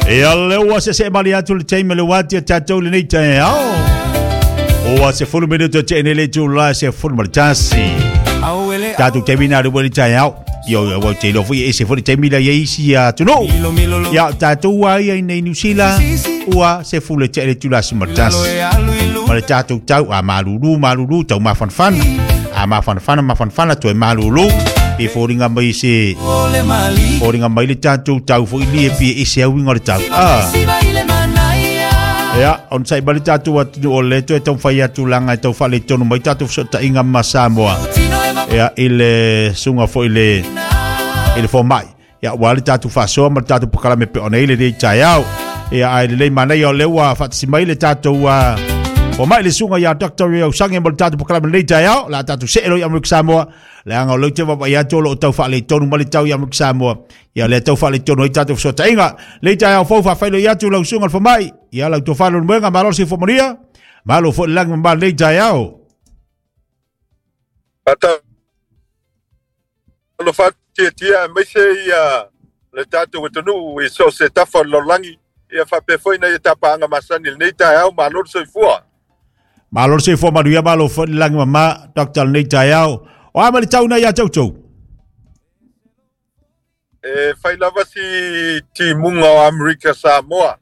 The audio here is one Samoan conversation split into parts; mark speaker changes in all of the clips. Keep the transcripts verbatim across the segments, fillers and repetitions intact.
Speaker 1: Ia le ua se se mali atu le taimi le wati a tatou lenei taeao. Ua se fulu minuto te ene le tula se fulu ma le tasi. Tatou taimi na le wali taeao. Ia ua te ilo foi e se fulu taimi la ia isi atunuu. Ia tatou ua ia i nei New Zealand ua se fulu te ene tula se ma le tasi. Ma le tatou tau a malulu malulu tau mafanafana. A mafanafana mafanafana toe malulu. E fōringa mai se fōringa mai le tatou tau foi li e pie e se auinga o le tau. Ah. Ia, on sai ma le tatou atunuu o le toe taumafai atu laga e tau faaletonu mai tatou fesootaiga ma Samoa. Ia, i le suga foi le i le fomai. Ia, ua le tatou faasoa ma le tatou pakalame pe ona i le lei taeao. Ia, ai le lei manaia o le ua faatasi mai le tatou uh, fomai le suga ia Doctor Rio Sange mo le tatou pakalame lei taeao. La tatou see loa i Amerika Samoa. Leaga o leu te vaavaai atu o loo tau faaletonu ma le tau i Amerika Samoa. Ia le tau faaletonu ai tatou fesootaiga. Lei taeao fou faafailoi atu lau suga le fomai. Ia lau tofa Leulumoega, malo le soifua manuia. Malo foi le lagi ma lei taeao.
Speaker 2: Ata lo fatia aemaise ia le tatou atunuu i so se tafa o le lalolagi ia faapea foi na ia tapaaga masani lenei taeao, malo le soifua.
Speaker 1: Malo le soifua manuia, malo foi le lagi mama Doctor lenei taeao. O a ma le tau na ia tautou?
Speaker 2: E fai lava si timuga o Amerika Samoa.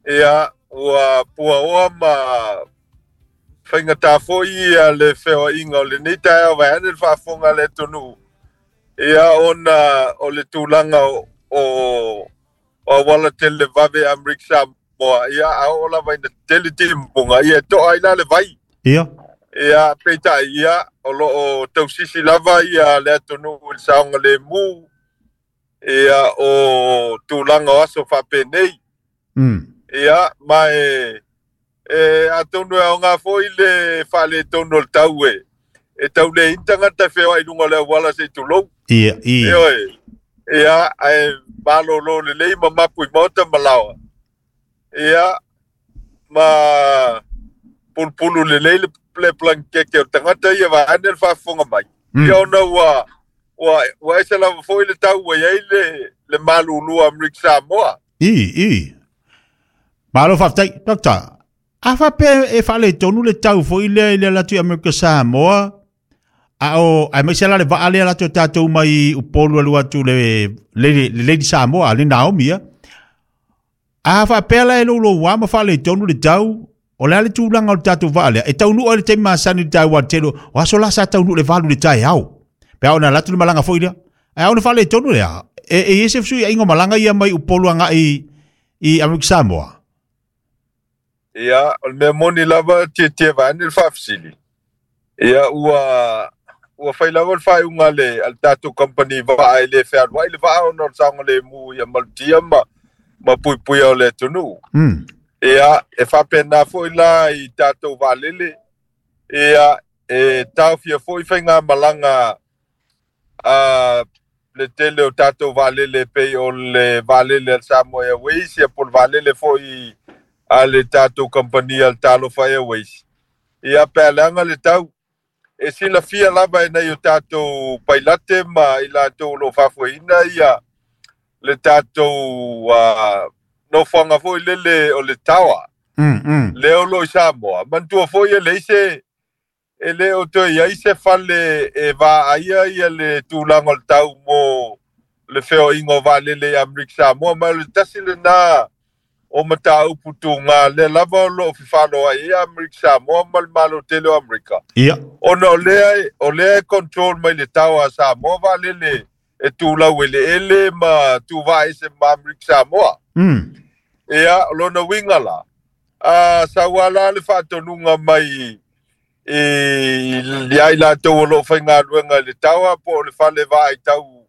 Speaker 2: Ia ua puaoa ma faigata foi ia le feoaiga o lenei taeao vaeane le faafofoga a le atunuu. Ia ona o le tulaga o o auala tele vave Amerika Samoa. Ia a oo lava ina tele timuga ia e to'a ai la le vai.
Speaker 1: Ia.
Speaker 2: Ia peitai ia o loo tausisi lava ia le atunuu i le saogalemu ia o tulaga o aso faapenei.
Speaker 1: Mm.
Speaker 2: Ia ma e e atonu e aoga foi le faaletonu o le tau e e tau le ini tagata e feoai luga o le auala se i tulou.
Speaker 1: Ia, ia.
Speaker 2: Ioe. Ia ae malolo lelei ma mapu i maota ma laoa. Ia ma pulupulu lelei le le blankeke o tagata ia vaeane le faafofoga mai.
Speaker 1: Mm.
Speaker 2: Ia ona ua ua ua ese lava foi le tau ua iai le le malulu a Amerika Samoa.
Speaker 1: I, i. Malo faafetai, Doctor. A faapea e faaletonu le tau foi lea i le ala atu i Amerika Samoa, a o aemaise la le vaa lea latou tatou mai Upolu alu atu le le le Lady Samoa le Naomi ia. A faapea la e louloua ma faaletonu le tau, o le a le tulaga o le tatou vaa lea e taunuu ai le taimi masani le taua tele o aso la sa taunuu le valu le taeao. Pe a ona alu atu le malaga foi lea. Ae a ona faaletonu lea, e e i ai se fesuiaiga o malaga ia mai Upolu agai i Amerika Samoa.
Speaker 2: Ia o le mea moni lava tietie vaeane le faafesili. Ia ua ua fai lava le faaiuga a le a le tatou company vaa e le fealuai le vaa ona o le saogalemu ia malutia ma ma puipuia o le atunuu.
Speaker 1: Mm.
Speaker 2: Ia e faapena foi la i tatou vaalele. Ia e taofia foi faigamalaga a le tele o tatou vaalele pei o le vaalele a le Samoa Airways ia po o le vaalele foi a le tatou kamupani a le Talofa Airways. Ia pe a leaga le tau e silafia lava e nai o tatou pailate ma i latou o loo faafoeina ia le tatou uh, nofoaga foi lele o le tower
Speaker 1: Mm, mm.
Speaker 2: lea o loo i Samoa. Manatua foi e leai se e le o toe iai se fale e vaaia ia le tulaga o le tau mo le feoaiga o vaalele i Amerika Samoa, ma o le tasi lena o mataupu tuga lea lava o loo fefaloai ai Amerika Samoa ma le Malo tele o Amerika.
Speaker 1: Ia.
Speaker 2: Ona o lea o lea e control mai le tower a Samoa vaalele e tulau eleele ma tuvaese ma Amerika Samoa.
Speaker 1: Mm.
Speaker 2: Ia o lona uiga la a saua la le faatonuga mai i ia i latou o loo faigaluega i le tower po o le fale vaai tau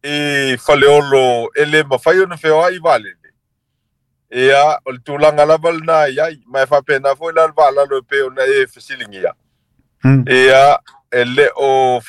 Speaker 2: i Faleolo e le mafai ona feoai vaalele. Ia o le tulaga lava lena i ai ma e faapena foi la le vaalalo e pei ona e fesiligia.
Speaker 1: Mm.
Speaker 2: Ia e le o